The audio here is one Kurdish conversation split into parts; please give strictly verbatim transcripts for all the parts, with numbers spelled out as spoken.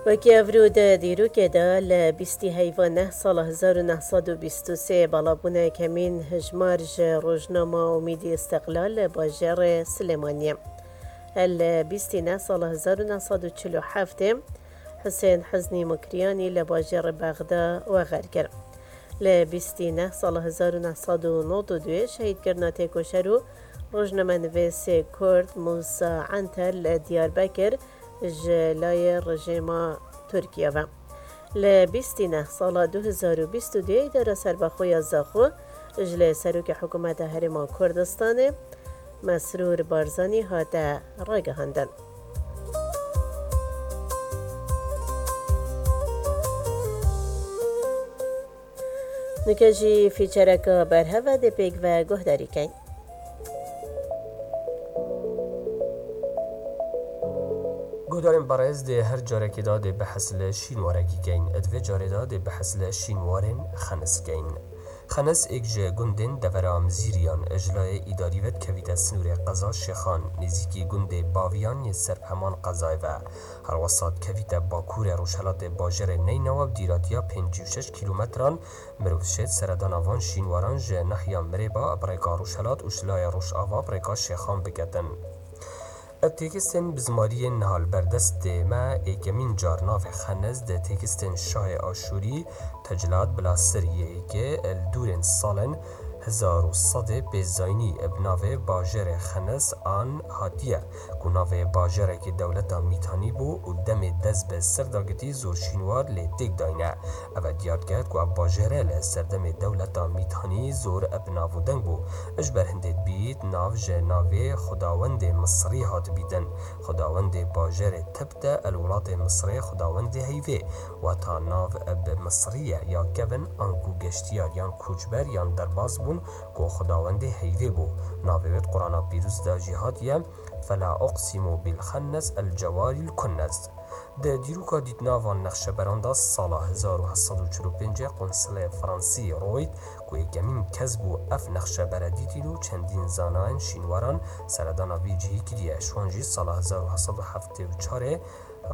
Wekî evro di dîrokê de li bîstî heyva neh sala hezar û neh sed û bîst û sê balabûna kemîn hijmar ji rojnama Umîdî Îstiqlal li bajêrê Silêmaniyê. Li bîstî neh sala hezar û neh sed û çil û heftê Husên Huznî Mukriyanî li bajêrê Bexda wexer kir. Li bîstî neh sala hezar û neh sed û nod û duyê şehîdkirina têkoşer û rojnamenivîsê Kurd Mûsa Enter li Diyarbekir ji layê rejîma Tirkiye ve. Li bîstî neh sala du hezar û bîst û duyê Îdara Serbexwe ya Zaxo ji lê Serokê Hikûmeta Herêma Kurdistanê Mesrûr Barzanî hate ragihandin. Nûke jî fîçereke berhev e, dê pêk ve guhdarî kein. Guhdarên berêz, dê her carekê de dê behs li şînwarekî kein. Di vê carê de dê behs li şînwarên Xenis kein. Xenis êk ji gundên devera Mizîriyan ji layê îdarî ve dikevîte sinûrê qeza Şêxan, nêzîkî gundê Baviyan yê ser bi heman qezayê ve. Herwesa dikevîte bakurê rojhelatê bajarê Neynawa bi dîratiya pêncî û şeş kîlometran. Mirov şêt seredana van şînwaran ji nahiya Mirêba bi rêka rojhelat û ji layê rojava bi rêka Şêxan biketin. Ev têkistên bi zimariyên niha li ber destê me êkemîn car navê Xenes di têkistên şahê Aşûrî Teclad Bila Sir yê êkê li dûrên salên hezar û sedê pêzayînî bi navê Bajarê Xenes an hatiye, ku navê bajarekî dewleta Mîtanî bû û demê dest bi sir dagirtî zor şînwar lê têk dayne. Ev diyar kir ku ev bajêre li serdemê dewleta Mîtanî zor bi nav û deng bû. Ji ber hindê dibît nav ji navê xwedawendê Misrî hat bîtin. Xwedawendê bajêrê Tebte el welatê Misrê xwedawendê heyvê, wata nav bi Misrî ye ya kevin anku geştiyar yan koçber yan derbas bûn ku xwedawendê heyvê bû. Navê wê di Qur'ana Pîroz de jî hatiye, Fela uqsimu bil xennes el cewaril kunnes. Di dîroka dîtina van nexşeberan de sala hezar û heft sed û çil û pêncê qonsilê Fransî Royt ku yekemîn kes bû ev nexşebere dîtîn û çendîn zanayên şînwaran seredana vî cihî kiriye. Ji wan jî sala hezar û heft sed û heftê û çarê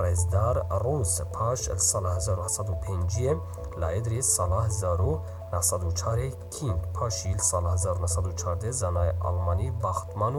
rêzdar Rûs, paş li sala hezar û heft sed û pênciyê Laedrî, sala hezar û neh sed û çarê King, paşî li sala hezar û neh sed û çardê zanayê Almanî Baxtman û